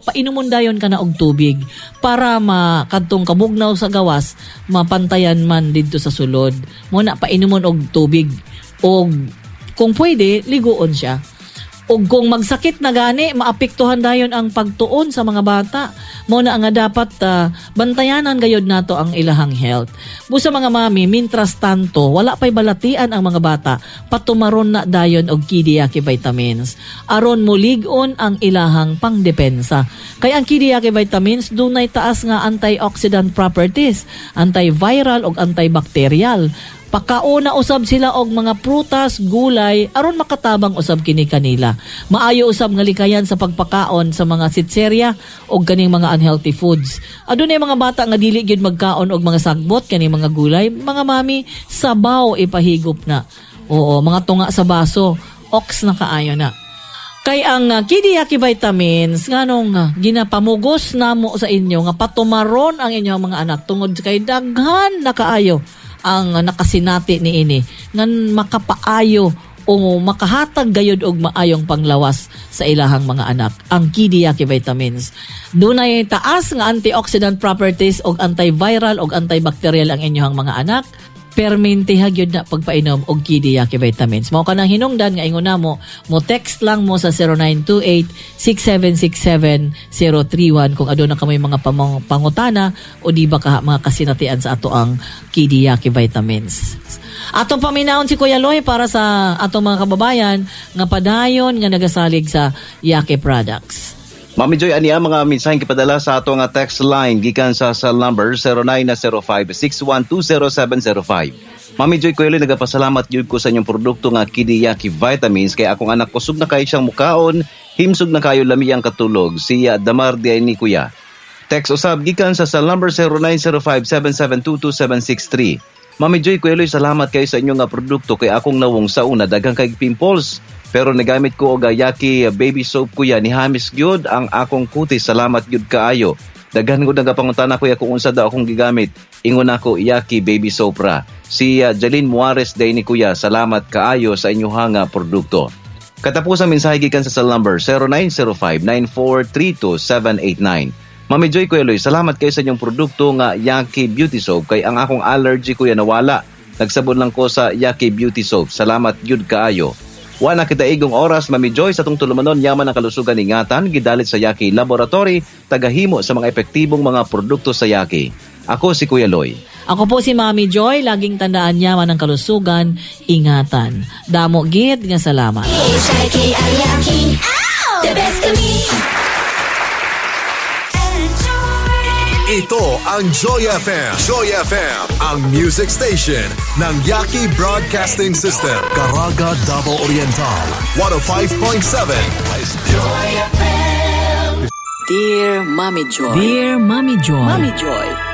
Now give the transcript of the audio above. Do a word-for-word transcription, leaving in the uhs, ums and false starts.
Painumon dayon ka na og tubig para ma kadtong kabugnaw sa gawas mapantayan man didto sa sulod. Mo na painumon og tubig og kung pwede liguon siya. Og kung magsakit na gani, maapektuhan dayon ang pagtuon sa mga bata. Mo na nga dapat ah, bantayanan gayod nato ang ilahang health. Busa mga mami, mintras tanto, wala pa'y balatian ang mga bata, patumaron na dayon og Kidiyaki vitamins. Aron mulig-on ang ilahang pangdepensa. Kay ang Kidiyaki vitamins dunay taas nga antioxidant properties, antiviral ug antibacterial. Pakauna usab sila og mga prutas, gulay aron makatabang usab kini kanila. Maayo usab nga likayan sa pagpakaon sa mga sitserya og kaning mga unhealthy foods. Adunay mga bata nga dili gyud magkaon og mga sagbot kaning mga gulay, mga mami sabaw ipahigop na. Oo, mga tunga sa baso, oks na kaayo na. Kay ang uh, Kidiyaki vitamins nganong uh, ginapamugos namo sa inyo nga patumaron ang inyong mga anak tungod kay daghan na kaayo ang uh, nakasinati niini ngan makapaayo o makahatag gayod og maayong panglawas sa ilahang mga anak ang Kidiyaki vitamins. Dunay taas nga antioxidant properties og antiviral og antibacterial ang inyong mga anak permintiha gyud na pagpainom og Kidiyaki vitamins. Mao kanang hinungdan nga ingon namo, mo text lang mo sa zero nine two eight, six seven six seven, zero three one kung aduna kamoy mga pamang-, pangutana o di ba ka mga kasinatian sa ato ang Kidiyaki vitamins. Atong paminawon si Kuya Loy para sa atong mga kababayan nga padayon nga nagasalig sa Yaki products. Mami Joy, ani ang mga mensahe gipadala sa ato nga text line gikan sa cell number zero nine zero five, six one two zero seven zero five. Mami Joy, Kuya Loy, nagapasalamat gyud ko sa inyong produkto nga Kidiyaki Vitamins kay akong anak kusog na kayo siyang mukaon, himsog na kayo lami ang katulog. Si Damar di ay ni Kuya. Text usab gikan sa cell number zero nine zero five, seven seven two two seven six three. Mami Joy, Kuya Loy, salamat kayo sa inyong nga produkto kay akong nawong sa una daghang kay pimples. Pero nagamit ko og Yaki baby soap kuya ni Hamis gyud ang akong kutis. Salamat gyud kaayo. Daghan gud nagapangutana kuya kung unsa daw akong gigamit. Ingon ako Yaki baby soap ra. Si, uh, Jeline Muares day ni kuya, salamat kaayo sa inyong nga produkto. Katapos ang mensahe gikan sa cell number zero nine zero five, nine four three two seven eight nine. Mami Joy, Kuya Loy, salamat kayo sa inyong produkto nga Yaki Beauty Soap kay ang akong allergy kuya nawala. Nagsabon lang ko sa Yaki Beauty Soap. Salamat gyud kaayo. Wa na kita igong oras, Mami Joy, sa atong tulumanon, yaman ang kalusugan ingatan, gidalit sa Yaki Laboratory, tagahimo sa mga epektibong mga produkto sa Yaki. Ako si Kuya Loy. Ako po si Mami Joy, laging tandaan yaman ang kalusugan, ingatan. Damo gid nga salamat. H I K I Yaki, the best kami. Ito ang Joy F M. Joy F M, ang music station ng Yaki Broadcasting System. Caraga, Davao Oriental, one oh five point seven. Joy F M. Dear Mommy Joy. Dear Mommy Joy. Mommy Joy.